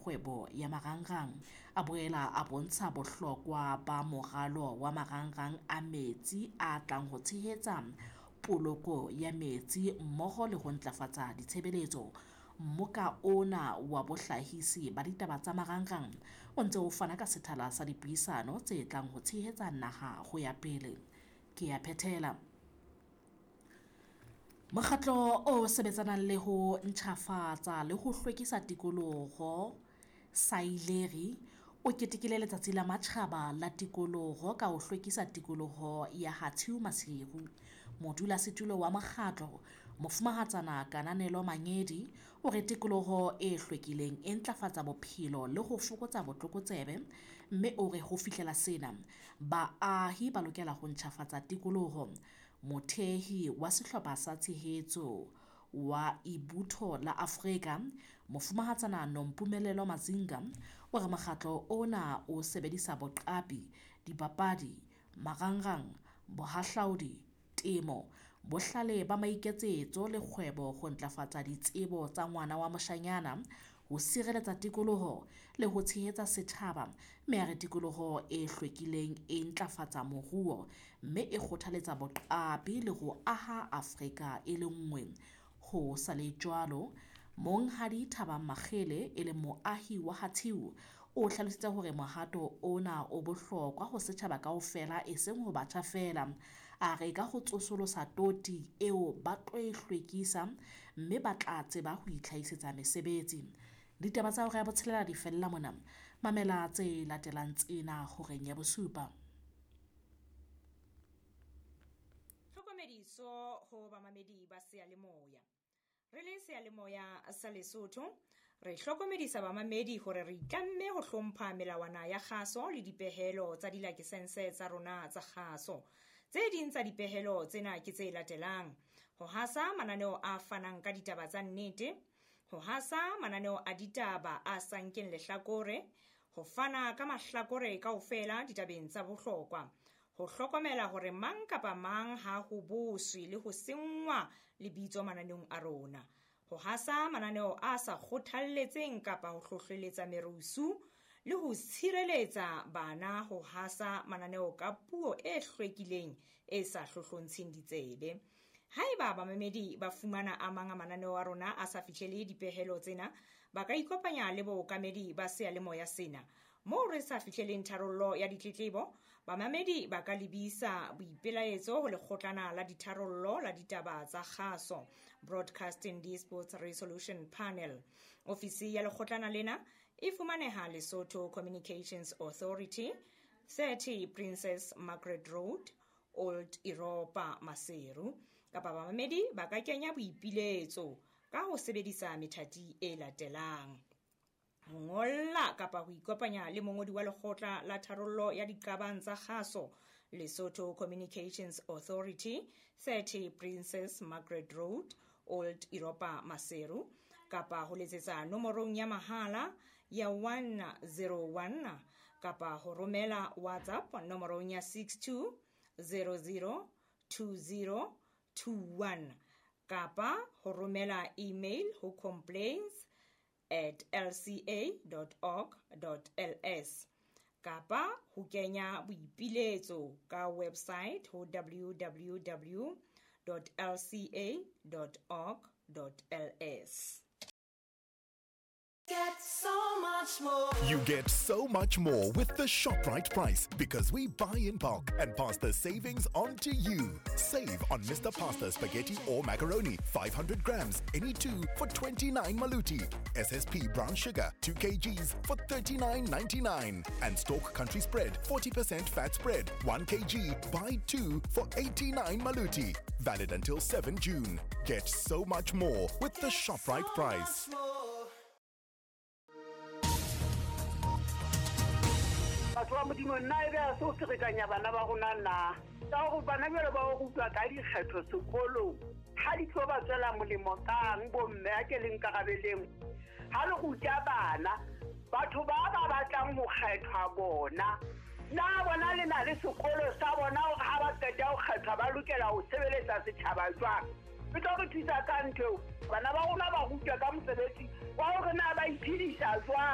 kgwebo ya marangrang. A boela a bontsha bohlokwa ba moralo wa marangrang a metsi a tlang ho tshehetsa poloko ya metsi mmoho le ho ntlafatsa ditshebeletso. Mmoka ona wa bohlahisi ba ditaba tsa marangrang o ntse o fana ka sethala sa dipuisano tse tlang ho tshehetsa naha ho ya pele. Ke ya phethela. Mokgatlo o sebetsanang le ho ntjhafatsa le ho hlwekisa tikoloho Saileri o ketekile letsatsi la matjhaba la tikoloho ka ho hlwekisa tikoloho ya Hatshiu Maseru. Modulasetulo wa mokgatlo, Mofumahatsana Kananelo Mangedi, o re tikoloho e hlwekileng e ntlafatsa bophelo le ho fokotsa botlokotsebe, mme o re ho fihlela sena, baahi ba lokela ho ntjhafatsa tikoloho. Mothehi wa sehlopha sa tshehetso wa Ibutho la Afrika, Mofumahatsana Nompumelelo Mazinga, o re mokgatlo ona o sebedisa boqapi, dipapadi, marangrang, bohahlaudi, temo, bohlale ba maiketsetso le kgwebo ho ntlafatsa ditsebo tsa ngwana wa moshanyana, ho sireletsa tikoloho le ho tshehetsa setjhaba, mme a re tikoloho e hlwekileng e ntlafatsa moruo, mme e kgothaletsa boqapi le ho aha Afrika e le nngwe. Ho sa le jwalo, Monghadi Thabang Makgele e leng moahi wa Hatshiu o hlalositse hore mohato ona o bohlokwa ho setjhaba kaofela eseng ho batjha feela. A re ka ho tsosolosa toti eo ba tlo e hlwekisa mme ba tla tseba ho itlhahisetsa mesebetsi. Ditaba tsa hora ya botshelela di fella mona. Mamela tse latelang tsena horeng ya bosupa. Tlhokomediso ho bamamedi ba seyalemoya. Re le seyalemoya sa Lesotho, re hlokomedisa bamamedi hore re itlamme ho hlompha melawana ya kgaso le dipehelo tsa dilakesense tsa rona tsa kgaso. Tse ding tsa dipehelo tsena ke tse latelang: ho hasa mananeo a fanang ka ditaba tsa nnete, ho hasa mananeo a ditaba a sa nkeng lehlakore, ho fana ka mahlakore kaofela ditabeng tsa bohlokwa, ho hlokomela hore mang kapa mang ha ho boswe le ho senngwa lebitso mananeong a rona, ho hasa mananeo a sa kgothalletseng kapa ho hlohleletsa merusu le ho tshireletsa bana ho hasa mananeo ka puo e hlwekileng e sa hlohlontsheng ditsebe. Haeba bamamedi ba fumana a mang a mananeo a rona a sa fihlele dipehelo tsena, ba ka ikopanya le bookamedi ba seyalemoya sena. Moo re sa fihleleng tharollo ya ditletlebo, bamamedi ba ka lebisa boipelaetso ho lekgotlana la ditharollo la ditaba tsa kgaso, Broadcasting Disputes Resolution Panel. Ofisi ya lekgotlana lena e fumaneha Lesotho Communications Authority, 30 Princess Margaret Road, Old Europa, Maseru. Kapa bamamedi ba ka kenya boipiletso ka ho sebedisa methati e latelang: ho ngolla kapa ho ikopanya le mongodi wa lekgotla la tharollo ya diqabang tsa kgaso, Lesotho Communications Authority, 30 Princess Margaret Road, Old Europa, Maseru, kapa ho letsetsa nomorong ya mahala ya 101 kapa ho romela WhatsApp nomorong ya 62002021 kapa ho romela email ho complaints@lca.org.ls kapa ho kenya boipiletso ka website ho www.lca.org.ls. Get so much more. You get so much more with the ShopRite price because we buy in bulk and pass the savings on to you. Save on Mr. Pasta spaghetti or macaroni, 500 grams, any two for 29 maluti. SSP brown sugar, 2 kgs for 39.99. And Stork Country Spread, 40% fat spread, 1 kg, buy 2 for 89 maluti. Valid until 7 June. Get so much more with the Get ShopRite so price. much more. Batho ba Modimo, nna ebe ha se ho ferekanya bana ba rona na? Ka hore bana jwale ba o rutwa ka dikgetho sekolong, ha di tlo ba tswela molemo kang bomme a ke le nkarabeleng? Ha le ruta bana, batho ba ba batlang ho kgethwa bona, na bona le na le sekolo sa bona hore ha ba qeta ho kgethwa ba lokela ho sebeletsa setjhaba jwang? E tlo re thusa ka ntho eo. Bana ba rona ba rutwa ka mosebetsi wa hore na ba iphedisa jwang.